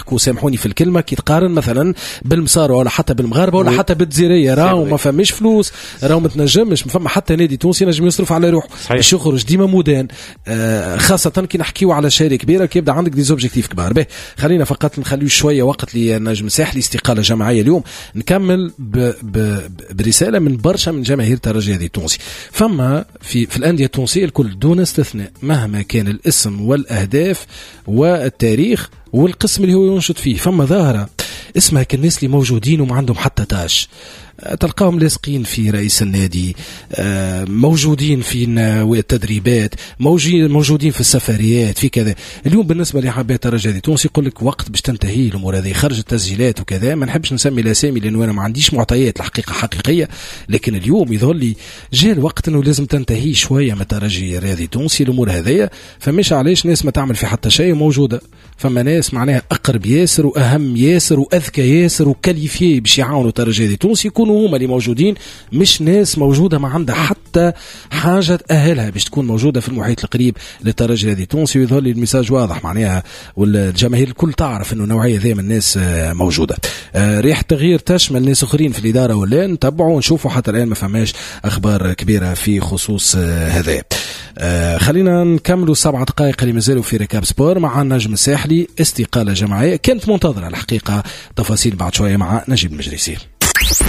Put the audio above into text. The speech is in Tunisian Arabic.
يضحكوا، سامحوني في الكلمه، كي تقارن مثلا بالمصاروة ولا حتى بالمغاربه ولا حتى بالجزيريه، راهو ما فماش فلوس، راهو ما تنجمش، ما فما حتى نادي تونسي نجم يصرف على روحه باش يخرج ديما مودان، خاصة كي نحكيو على شهرية كبيره، كي يبدا عندك des objectifs كبار. به خلينا فقط نخليو شوية وقت لنجم الساحلي، استقالة جماعية اليوم. نكمل ب ب برسالة من برشا من جماهير الترجي التونسي. فما في الاندية التونسية الكل دون استثناء، مهما كان الاسم والاهداف والتاريخ والقسم اللي هو ينشط فيه، فما ظاهره اسمها كالناس اللي موجودين وما عندهم حتى tâche، تلقاهم لاصقين في رئيس النادي، موجودين في التدريبات، موجودين في السفريات، في كذا. اليوم بالنسبة لحبات الترجي التونسي يقول لك وقت باش تنتهي الامور هذه، خرج التسجيلات وكذا. ما نحبش نسمي الاسامي لانه انا ما عنديش معطيات الحقيقة حقيقيه، لكن اليوم يظهر لي جاء الوقت انه لازم تنتهي شوية من الترجي الرياضي التونسي الامور هذيا. فمش علاش ناس ما تعمل في حتى شيء موجوده، فما ناس معناها اقرب ياسر واهم ياسر واذكى ياسر و qualifiés باش يعاونوا الترجي التونسي يكونوا هما اللي موجودين، مش ناس موجودة ما عندها حتى حاجة تاهلها باش تكون موجودة في المحيط القريب للترجي الرياضي التونسي. ويظهر لي ال message واضح معناها، والجماهير الكل تعرف انه النوعية ذي من الناس موجوده. ريحه تغيير تشمل ناس اخرين في الادارة ولا نتبعوا ونشوفوا، حتى الان ما فماش اخبار كبيرة في خصوص هذا. خلينا نكملوا 7 دقائق اللي مازالوا في récap sport مع النجم الساحلي، استقالة جماعية كانت منتظره الحقيقه، تفاصيل بعد شوية مع نجيب المجريسي.